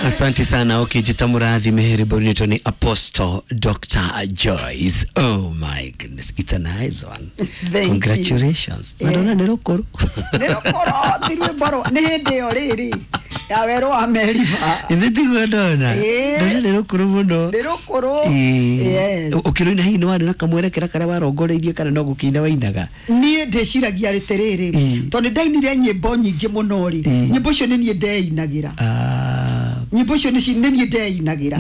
Asante sana. Ukijita murathime ribonito ni Apostle Dr. Joyce. Oh my goodness, it's a nice one. Thank Congratulations. you. Na ndona nĩ rũkũrũ. Nĩ rũkũrũ ti rwĩmbo rwa nĩ hĩndĩ ĩyo rĩrĩ ya werũ wa Meriba. Ithe tiguo ndona. Ĩĩ. Ndona nĩ rũkũrũ mũno. Nĩ rũkũrũ. Ĩĩ. Yes. Ũkĩrũina hihi nĩ warĩ na kamwerekera karĩa warongoreirie kana no gũkĩina wainaga? Niĩ ndĩciragia atĩrĩrĩ, Ĩĩ. tondũ nĩ ndainire nyĩmbo nyingĩ mũno rĩ, Ĩĩ. nyĩmbo icio nĩ niĩ ndeinagĩra. Ah. Nyĩmbo icio nĩ niĩ ndeinagĩra.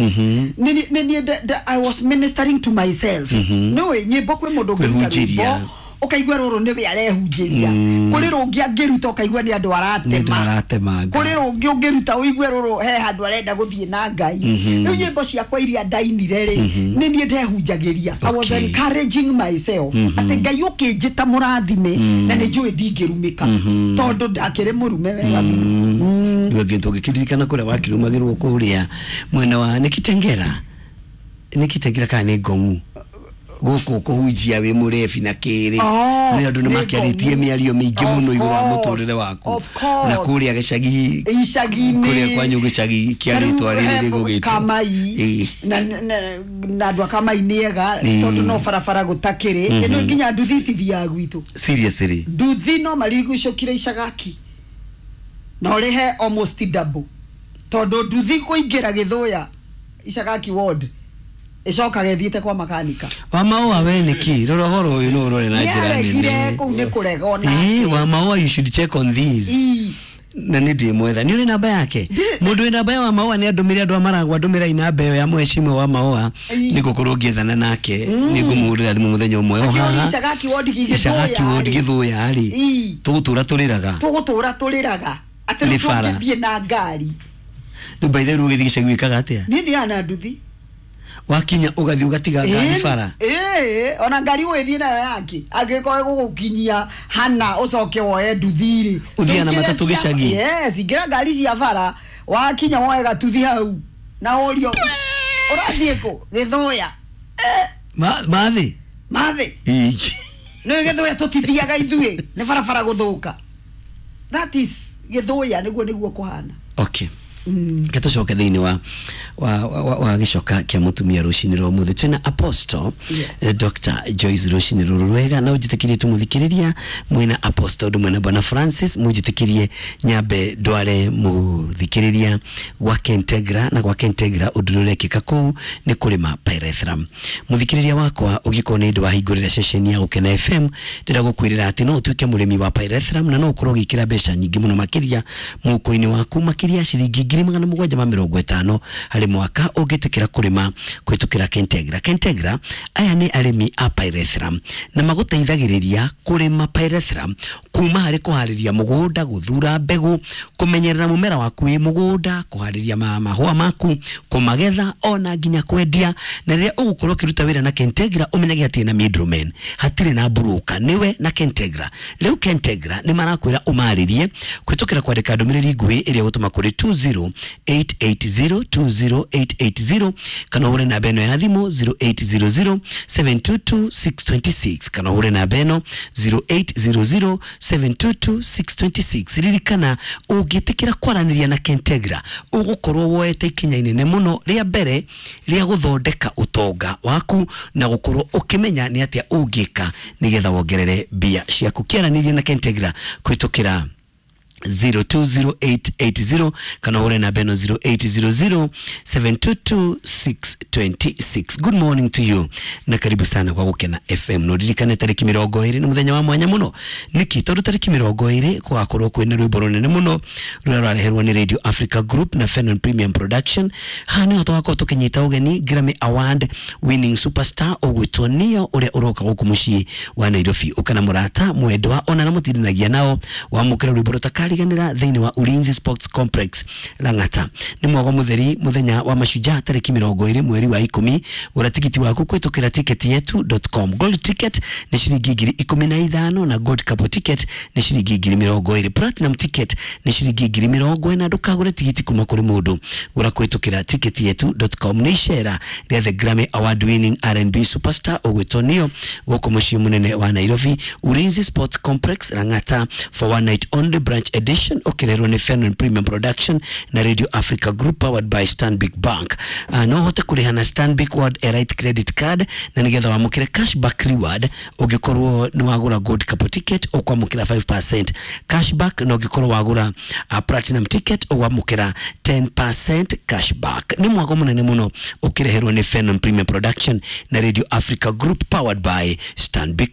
Nĩ niĩ I was ministering to myself. Nĩũĩ nyĩmbo kwĩ mũndũ ũngĩruta Kwĩhunjĩria. rwĩmbo ũkaigua rũrũ nĩwe arehunjĩria, kũrĩ rũngĩ angĩruta ũkaigua nĩ andũ Nĩ andũ aratema, aratemanga. kũrĩ rũngĩ ũngĩruta ũigue rũrũ he handũ arenda gũthiĩ na Ngai. Rĩu nyĩmbo ciakwa iria ndainire rĩ, nĩ niĩ ndehunjagĩria. I was encouraging myself atĩ Ngai ũkĩnjĩta mũrathime na nĩ njũĩ ndingĩrumĩka tondũ ndakĩrĩ mũrume wega biũ. Rĩu angĩ tũngĩkĩririkana kũrĩa wakĩrumagĩrwo kũrĩa mwena wa nĩ Kitengera, nĩ Kitengera kana nĩ Ngong'u gũkũ kũhunjia wĩ mũrebi na kĩrĩ, Oh, nĩ andũ nĩ nĩ makĩarĩtie Ngong'u. mĩario mĩingĩ Of mũno igũrũ wa course, mũtũrĩre waku of course. na kũrĩa gĩcagi icagi-inĩ kũrĩa kwanyu gĩcagi kĩa rĩtwa rĩrĩ rĩgũgĩtwo Kamai. Ĩĩ. Na andũ a Kamai nĩ ega Ĩĩ. tondũ no barabara gũtakĩrĩ ĩno nginya nduthi itithiaga gwitũ. Seriously? Nduthi no marigucũkire icagaki na ũrĩhe almost double tondũ nduthi kũingĩra Gĩthũya Icagaki ward ĩcokaga ĩthiĩte kwa makanika. Wa maũa we nĩkĩ rora ũhoro ũyũ no ũrore na njĩra nĩaregire nene. kũu nĩ kũrega ona. Ĩĩ, wa maũa, you should check on these. Ĩĩ. Na nĩ ndĩmwetha nĩ ũrĩ namba yake. Ndirĩ. Mũndũ wĩ namba ya wa maũa nĩ andũmĩre andũ a maragwa ndũmĩrai namba ĩyo ya mheshimiwa wa maũa. Ĩĩ. Nĩ ngũkorwo ngĩethana nake, nĩ ngũmũhũrĩra thimũ mũthenya ũmwe o Akĩũria haha. Icagaki ward Icagaki ward Gĩthũya rĩ. Gĩthũya rĩ, Ĩĩ. tũgũtũra tũrĩraga. Tũgũtũra tũrĩraga atĩ Nĩ rĩu bara. tũngĩthiĩ na ngari. Rĩu by the way ũgĩthiĩ gĩcagi wĩkaga atĩa? Niĩ thiaga na nduthi. Wakinya ũgathiĩ ũgatiga ngari bara? Ĩĩ, ona ngari ũgĩthiĩ nayo yake angĩkorwo ĩgũgũkinyia hana ũcoke woe nduthi rĩ. Ũthiaga na Ingĩra matatũ gĩcagi? Yes, ingĩra ngari cia bara, wakinya woe gatuthi hau na ũrio ũrathiĩ kũ Gĩthũya. Mathĩ. Mathĩ. Ĩĩ. Nĩ Gĩthũya tũtithiaga ithuĩ nĩ barabara gũthũka. That is Gĩthũya, nĩguo kũhana. Okay, ke tũcoke thĩinĩ wa gĩcoka kĩa mũtumia rũcinĩ rwa ũmũthĩ twĩna Apostle Yes. Dr. Joyce rũcinĩ rũrũ rwega na ũnjĩtĩkĩrie tũmũthikĩrĩria mwĩna Apostle ũndũ mwena Bwana Francis mũnjĩtĩkĩrie nyambe ndware mũthikĩrĩria gwa Kentegra na gwa Kentegra ũndũ ũrĩa ũrekĩka kũu nĩ kũrĩma pyrethrum. Mũthikĩrĩria wakwa, ũngĩkorwo nĩ ũndũ wahingũrĩra ceceni ya Gũkena FM, ndĩrenda gũkwĩrĩra atĩ no ũtuĩke mũrĩmi wa pyrethrum na no ũkorwo ũgĩkĩra mbeca nyingĩ mũno makĩria mũhuko-inĩ waku, makĩria ciringi 750,000 harĩ mwaka ũngĩtĩkĩra kũrĩma kũhĩtũkĩra Kentegra. Kentegra aya nĩ arĩmi a pyrethrum na magũteithagĩrĩria kũrĩma pyrethrum kuma harĩ kũharĩria mũgũnda, gũthura mbegũ, kũmenyerera mũmera waku wĩ mũgũnda, kũharĩria mahũa maku, kũmagetha ona nginya kwendia. Na rĩrĩa ũgũkorwo ũkĩruta wĩra na Kentegra ũmenyage hatirĩ na middleman, hatirĩ na broker, nĩwe na Kentegra. Rĩu Kentegra nĩ marakwĩra ũmarĩrie kũhĩtũkĩra kwandĩka ndũmĩrĩri nguhĩ ĩrĩa ũgũtũma kũrĩ 20880, 20880, kana ũhũre namba ĩno ya thimũ 0800 722 626, kana ũhũre namba ĩno 0800 722 626. Ririkana ũngĩtĩkĩra kwaranĩria na Kentegra ũgũkorwo woete ikinya inene mũno rĩa mbere rĩa gũthondeka ũtonga waku na gũkorwo ũkĩmenya nĩ atĩa ũngĩka nĩgetha wongerere mbia ciaku. Kĩaranĩria na Kentegra kũhĩtũkĩra 020880 kana ũhũre namba ĩno 0800 722 626. Good morning to you na karibu sana kwa Gũkena FM. No ririkane tarĩki 20 nĩ mũthenya wa mwanya mũno. Nĩkĩ? Tondũ tarĩki 20 gũgakorwo kwĩna rwĩmbo rũnene mũno rũrĩa rũrareherwo nĩ Radio Africa Group na Fenon Premium Production. Haha nĩho tũgakorwo tũkĩnyita ũgeni Grammy Award winning superstar ũgwĩtwo Neo ũrĩa ũroka gũkũ mũciĩ wa Nairobi. Ũka na mũrata mwendwa ona na mũtindanagia nao wamũkĩra rwĩmbo rũtakariganĩra thĩinĩ wa Ulinzi Sports Complex Lang'ata. Nĩ mwago mũtheri mũthenya wa mashujaa tarĩki 20 mweri wa 10. Gũra tigiti waku kũhĩtũkĩra ticketyetu.com. Gold ticket nĩ ciringi 15,000 na gold couple ticket nĩ ciringi 20,000. Platinum ticket nĩ ciringi 40,000. Ndũkagũre tigiti kuma kũrĩ mũndũ, gũra kũhĩtũkĩra ticketyetu.com. Nĩ icera rĩa the Grammy Award winning R&B superstar ũgwĩtwo Neo gũkũ mũciĩ mũnene wa Nairobi, Ulinzi Sports Complex Lang'ata, for one night only branch. Edition ũkĩrerwo nĩ Fenon Premium Production na Radio Africa Group, powered by Stanbic Bank. No ũhote kũrĩha na Stanbic World Elite Credit Card na nĩgetha wamũkĩre cashback reward. Ũngĩkorwo nĩ wagũra gold couple ticket, ũkwamũkĩra 5% cashback, na ũngĩkorwo wagũra platinum ticket, ũkwamũkĩra 10% cashback. Nĩ mwago mũnene mũno ũkĩreherwo nĩ Fenon Premium Production na Radio Africa Group, powered by Stanbic.